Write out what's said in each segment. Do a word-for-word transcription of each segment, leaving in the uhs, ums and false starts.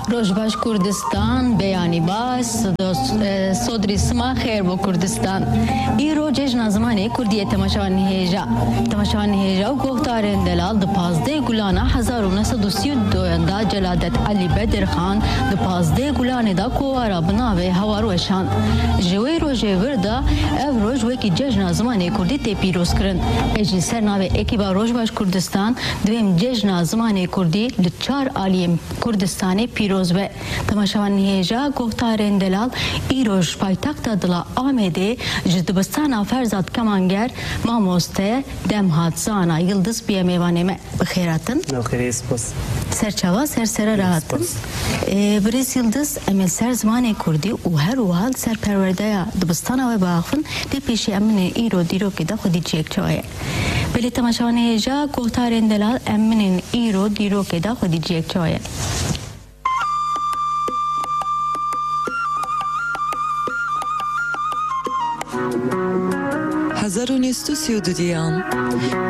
Roj baş Kurdistan, beyanî baş, dost, e, sodrî sima xêr bo Kurdistan. Îro cejna zimanê Kurdî ye temaşevanên hêja. Temaşevanên hêja û guhdarên delal, di pazdeh Gulana hezar û neh sed û sî û duyan de Celadet Elî Bedirxan di pazdeh Gulanê de kovara bi navê Hawar weşand. Ji wê rojê vir de ev roj wekî cejna zimanê Kurdî tê pîrozkirin. Ez jî ser navê ekîba Roj baş Kurdistan divêm cejna zimanê Kurdî li çar aliyên Kurdistanê pîroz be. Temaşevanên hêja, guhdarên delal, îro ji paytexta dila Amedê ji dibistana Ferzad Kemanger mamoste Demhat Zana Yildiz bûye mêvanê me. Bi xêr hatin. Navxêrê, spas. Ser çava, ser sere re hatin. Spas. Ê, birêz Yildiz, em ê li ser zimanê Kurdî û her wiha li ser perwerdeya dibistana we biaxivin, lê pêşî em binê îro dîrokê de xwedî cihek çawa ye. Belê temaşevanê hêja, guhdarên delal, em binên îro dîrokê de xwedî cihek çawa ye. Hezar û neh sed û sî û duyan,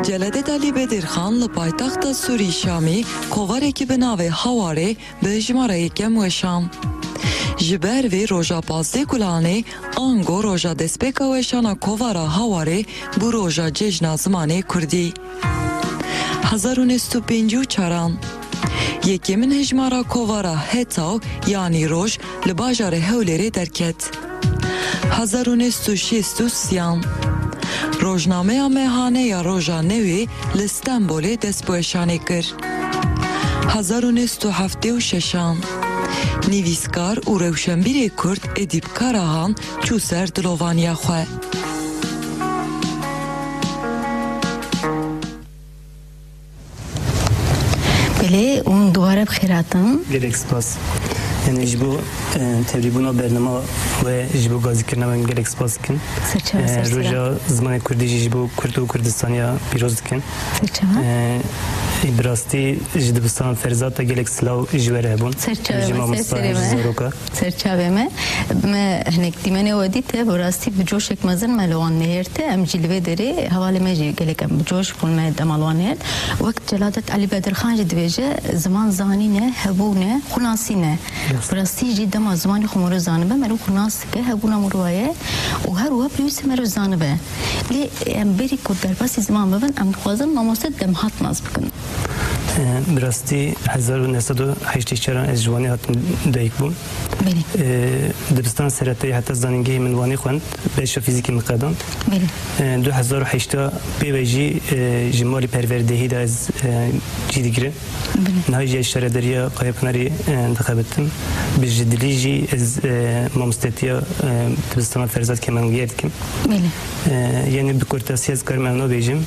Celadet Elî Bedirxan li paytexta Sûrî Şamî kovarekî bi navê Hawarê bi hejmara yekem weşan. Ji ber vê roja pazdeh Gulanê, ango roja destpêka weşana kovara Hawarê bû roja cejna zimanê Kurdî. Hezar û neh sed û pêncî û çaran, yekemîn hejmara kovara Hetaw, yanî roj, li bajarê Hewlêrê derket. Hezar û neh sed û şêst û sêyan, rojnameya Mehane ya Roja Newê li Stenbolê dest bi weşanê kir. Hezar û neh sed û heftê û şeşan, nivîskar û rewşenbîrê Kurd Edîp Karahan çû ser dilovaniya xwe. Belê, hûn dubare bi xêr hatin. Gelek spas. Yani ji bo, e, tevlîbûna bernama we, ji bo gazîkirina we gelek spas dikin. Serçava, e, serçava. Roja Zimanê Kurdî jî ji bo Kurd û Kurdistaniya pîroz dikin. Serçava. E, bi rastî ji dibistana Ferzat de gelek silav ji we re hebûn. Serçava, ji mamosta, ji zaroka. Serçavê me, me hinek dîmenê we dît, te bi rastî bi coşek mezin me li wan nihêrte. Em jî li vê derê hevalê me jî gelek em bi coş bûn, me dema li wan nihêrt. Wek Celadet Elî Bedirxan jî dibêje, ziman zanîn e, hebûn e, xwe nasîn e. Bi rastî jî dema zimanê xwe meriv zanibe, meriv xwe nas dike, hebûna meriva ye û her wiha pêwîst e meriv zanibe. Lê em berî ku derbasî ziman bibin, em dixwazin mamoste Demhat nas bikin. E, bi rastî hezar û neh sed û heştê û çar ez ji Wanê hatim dayik bûm. Belê. E, dibistan seretayî heta zanîngehê min Wanê xwend, beşa fîzîkê min qedand. Belê. E, du hezar û heşta pê ve jî, e, ji malî perwerdehî de ez, e, cî digirim. Belê. Niha jî ez şaredariya Qayapınarê, e, dixebitim. Bi ji dilî jî ez, e, mamostetiya, e, dibistana Ferzad Kemengiyê dikim. Belê. E, yani bi kurtasî ez karim ewna bêjim.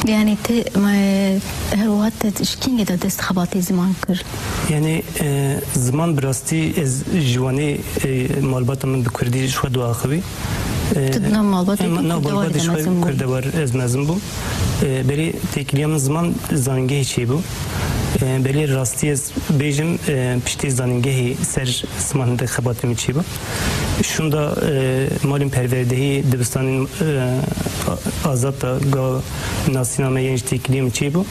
Yani te, me, her wiha te ji kîngê de dest xebatê ziman kir? Yani, e, ziman bi rastî ez ji Wanê, e, malbata min bi kurdî ji xwe diaxivî. E, tu di nav malbatê, em, nav malbatê ji xwe kurdewar ez mezin bûm. E, berê têkiliya min ziman zanîngehê çêbû. E, berê rastî ez bêjim, e, piştî zanîngehê ser ziman hindek xebatê min çêbû. Şûnda, e, malên perwerdehî dibistanên, e, a-, azad de ga nasîna me yên ji têkiliyê min çêbû.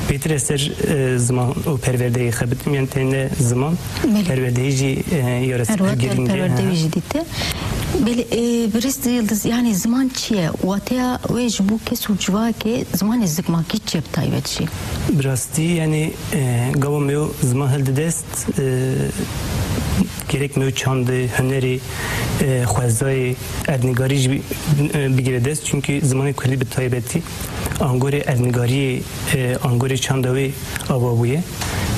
Pêtir ez ser, e, ziman û perwerdehî xebitim, yani tenê ziman, belê, perwerdehî jî, e, ya re girîng e. Perwerdehî jî dîte. Belê, e, birêz Yildiz, yani ziman çi ye? Wateya wê ji bo kes û civakê zimanê zikmakî çi ye bi taybet jî? Bi rastî, yani, e, gava me yo ziman hildi dest, e, gerek me yo çandê, hunerê, e, xwezayê, erdnigarî jî bi-, e, bigire dest. Çünkü zimanê kurdî bi taybetî angorê erdnigariyê, e, angorê çanda wê ava bûye.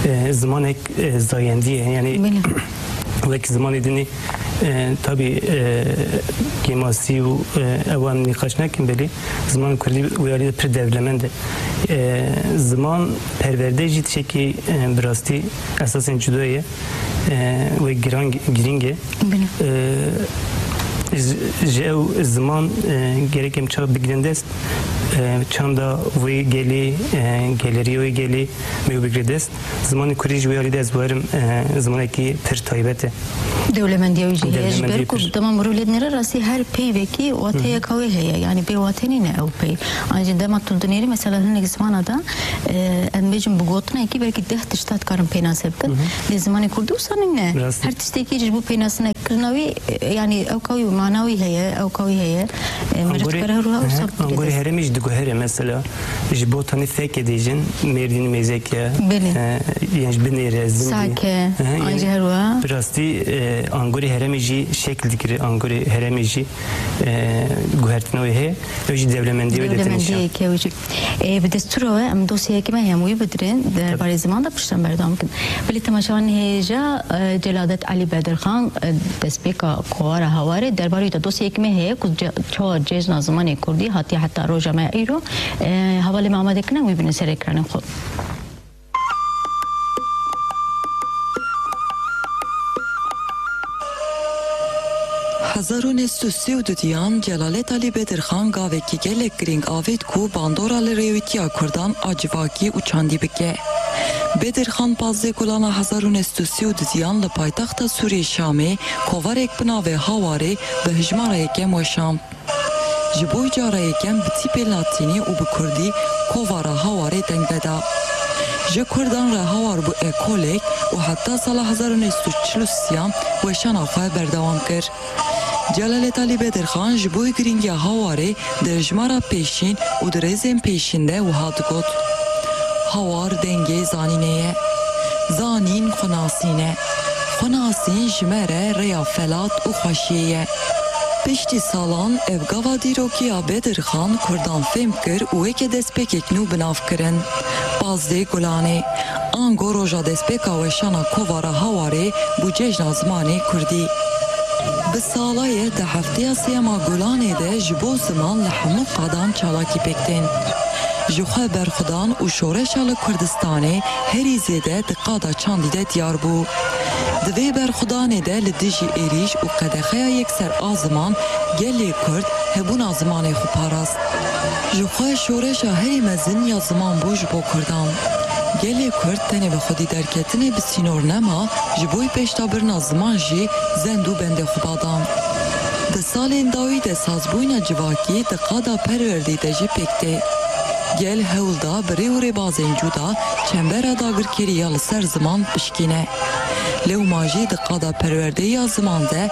E, zimanek, e, zayendî ye. Yani, belê, wek zimanê dinê, e, tabî, e, kêmasî û, e, ew em nîqaş nekin, belê zimanê kurdî wê alî de pir dewlemend e. E, ziman perwerde jî tiştekî, e, bi rastî esasên cuda ye. E, wê giran, girîng e. Belê. E, ji, ji ew ziman, e, gerek em çawa bigrin dest, E, çanda wê gelê, e, geleriya wê gelê me bigire dest. Zimanê kurdî ji wê alî de ez werim, e, zimanekî pir taybet e. Dewlemendiya wî jî heye. Ji ber ku dema mirov lê dinêre rastî her peyvekî wateyeka wê heye. Yani bê watê nîne ew peyv. Ancî dema tu dinêrî mesela hinek zimana de, e, em bêjin bi gotinekî belkî deh tişta dikarin pênase bikin. Lê zimanê kurdî wisa nîne. Her tiştekî ji bo pênasekirin kirina wî, e, yanî ewka wî, mana wî heye, ewka wî heye. E, meriv dikare her wiha wisa bigire dest. Angorê herêmê jî diguhere mesela. Ji bo tenê fekê dêjin, Mêrdîn, Mêzeke, e, yan jî Binêre, Zindî. Sake, an jî her wiha. Bi rastî, e, angorê herêmê jî şekil digire, angorê herêmê jî, e, guhertina wê heye. Ew jî dewlemendiyê wê dete nîşan. Dewlemendiyê ke wî jî. E, bi destûra we em dosyayekî me heye em wî bidirin. Derbarê ziman de piştre em berdewam bikin. Belê temaşevanên hêja, e, Celadet Elî Bedirxan, e, destpêka kovara Hawarê derbarê wî de dosyayekî me heye ku ce-, çawa cejna zimanê kurdî hatiye heta roja me ya îro. E, hevalê me amade kirine em wî bînin ser ekranên xwe. Hezar û neh sed û sî û dudiyan Celalet Alî Bedirxan gavekî gelek girîng avêt ku bandora li rêwîtiya Kurdan a civakî û çandî bike. Bedirxan pazdeh Gulana hezar û neh sed û sî û dudiyan li paytexta Sûriyê Şamê kovarek bi navê Hawarê bi hijmara yekem weşand. Ji bo cara yekem bi tîpê latînî û bi kurdî kovara Hawarê deng veda. Ji kurdan re Hawar bû ekolek û heta sala hezar û neh sed û çil û sêyan weşana xwe berdewam kir. Celalet Alî Bedirxan ji bo girîngiya Hawarê di hejmara pêşîn û di rêzên pêşîn de wiha digot, Hawar dengê zanînê ye. Zanîn xwenasîn e. Xwenasîn ji me re rêya felat û xweşiyê ye. Piştî salan ev gava dîrokî ya Bedirxan kurdan fêm kir û weke destpêkek nû bi nav kirin. Pazdeh Gulanê. Ango roja destpêka weşana kovara Hawarê bû cejna zimanê kurdî. Bi sala ye di hefteya sêyema Gulanê de ji bo ziman li hemû qadan çalakî pêk tên. Ji xwe berxwedan û şoreşa li Kurdistanê herî zêde di qada çandî de diyar bû. Di vê berxwedanê de li dijî êrîş û qedexeya yekser a ziman gelê Kurd hebûna zimanê xwe parast. Ji xwe şoreşa herî mezin ya ziman bû ji bo Kurdan. Gelê Kurd tenê bi xwedî derketinê bi sînor nema, ji bo pêşdabirina ziman jî zend û bendê xwe ba dan. Di salên dawî de sazbûyîna civakî di qada perwerdê de jî pêk tê. Gel hewl da bi rê û rêbazên cuda çembera dagirkerî ya li ser ziman pişkîne. Lewma jî di qada perwerdê ya ziman de